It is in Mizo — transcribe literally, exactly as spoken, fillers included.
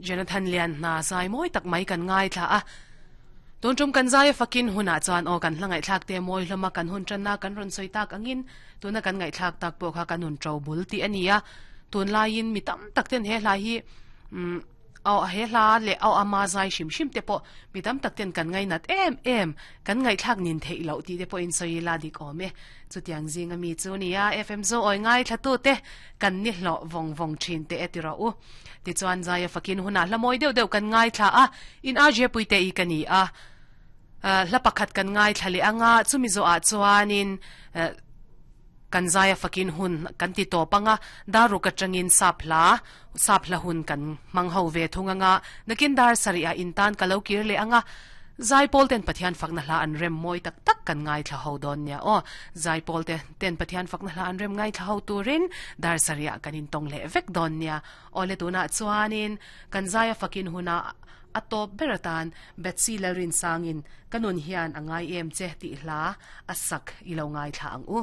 Jonathan Lian na zai mawi tak mai kan ngai thla a tun tum kan zai fakin huna chuan aw kan hlangai thlak te mawi hlama kan hun channa kan ron soi tak angin tuna kan ngai thlak tak pawh kha kan hun tro bul ti ania tun laiin mi tam tak ten he hlai hi um aw he hla le aw ama zai shim shim te pawh mi tam tak ten kan ngai nat em em kan ngai thlak nin thei lo ti te pawh in soi la dik awm e chutiang zing ami chu nia F M zo oi ngai thla tu te kan ni hlo vong vong thin te etira u ti chuan zai fakin huna hlamoi deuh deuh kan ngai thla a in a je puite i kani a hla pakhat kan ngai thla le anga chumi zo a chuanin kan zaya fakin hun kan ti to panga daru ka changin sapla sapla hun kan mangho ve thunganga nakin dar saria intan kalokir le anga zai pol ten pathian fakna hla an rem moi tak tak kan ngai thla ho don nia o zai pol te ten pathian fakna hla an rem ngai thla ho turin dar saria kanin tong le vek don nia ole tuna chuanin kan zaya fakin huna atop beratan Betsy Lalrin sangin kanun hian angai em che ti hla asak ilo ngai thla ang u.